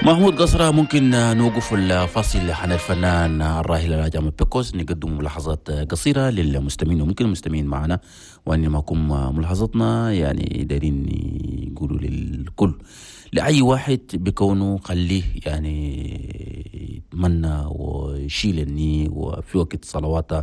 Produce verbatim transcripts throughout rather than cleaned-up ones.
محمود قصرة، ممكن نوقف الفاصل عن الفنان الراحل الحاج أحمد بيكوس، نقدم ملاحظات قصيرة للمستمعين، وممكن المستمعين معنا وأن معكم ملاحظتنا يعني دايرين يقولوا للكل، لأي واحد بكونه خليه يعني يتمنى ويشيل النية، وفي وقت صلواته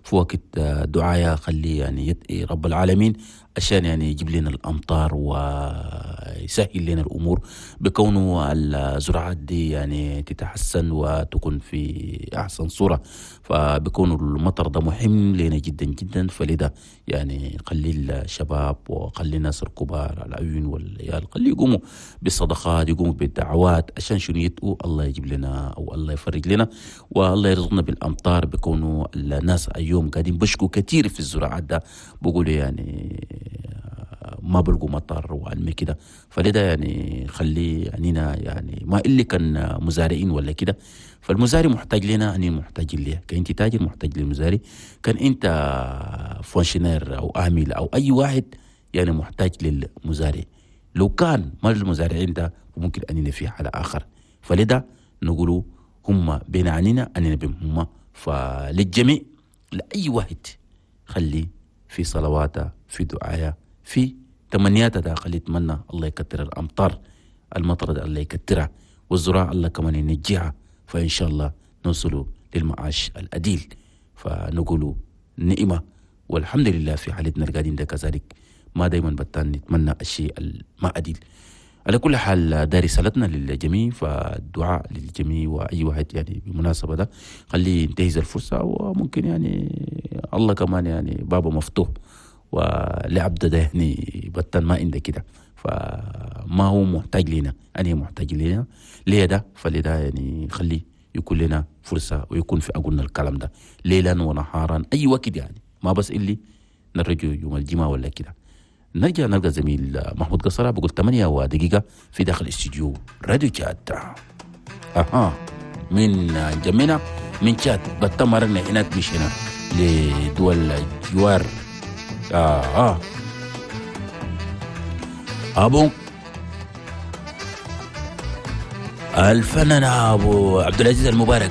في وقت دعاية خليه يعني يدعي رب العالمين عشان يعني يجيب لنا الأمطار ويسهل لنا الأمور بكونه الزراعات دي يعني تتحسن وتكون في أحسن صورة. فبكون المطر ده مهم لنا جدا جدا، فلذا يعني خلي الشباب وخلي الناس الكبار العيون والعيال خلي يقوموا بالصدقات، يقوموا بالدعوات عشان شنو يدعوا الله يجيب لنا أو الله يفرج لنا والله يرزقنا بالأمطار. بكونه الناس اليوم قاعدين بشكوا كثير في الزراعات ده، بقولوا يعني ما بلقوا مطر وعلمي كده، فلذا يعني خلي عنينا يعني ما اللي كان مزارعين ولا كده، فالمزارع محتاج لنا، أني محتاج ليه. كان أنت تاجر محتاج للمزارع، كان أنت fonctionnaire أو عامل أو أي واحد يعني محتاج للمزارع. لو كان ما المزارعين ده ممكن أننا في حالة آخر، فلذا نقولوا هم بين عنينا أننا بهم هم. فللجميع لأي واحد خلي في صلواته في دعايا في تمنياته ده، خلي يتمنى الله يكتر الأمطار، المطر ده الله يكترها، والزراعة الله كمان ينجيها، فإن شاء الله نوصلوا للمعاش الأديل. فنقولوا نعمة والحمد لله في حالتنا القاعدين ده كذلك، ما دايما بتان نتمنى الشيء ما أديل. على كل حال ده رسالتنا للجميع، فالدعاء للجميع وأي واحد يعني بالمناسبة ده خليه ينتهز الفرصة، وممكن يعني الله كمان يعني بابه مفتوح ولعبد ده يعني بطل ما عنده كده، فما هو محتاج لنا، أنا محتاج لنا ليه ده، فلذا يعني خليه يكون لنا فرصة ويكون في أقولنا الكلام ده ليلا ونهارا أي وقت، يعني ما بس اللي نرجو يوم الجمعة ولا كده. نرجع نلقى زميل محمود قصرة بقول ثمانية ودقيقة في داخل استوديو راديو تشاد. أها من جمينا من تشاد بتمرنا هناك مش هنا لدول الجوار. آه آه أبو الفنان أبو عبد العزيز المبارك.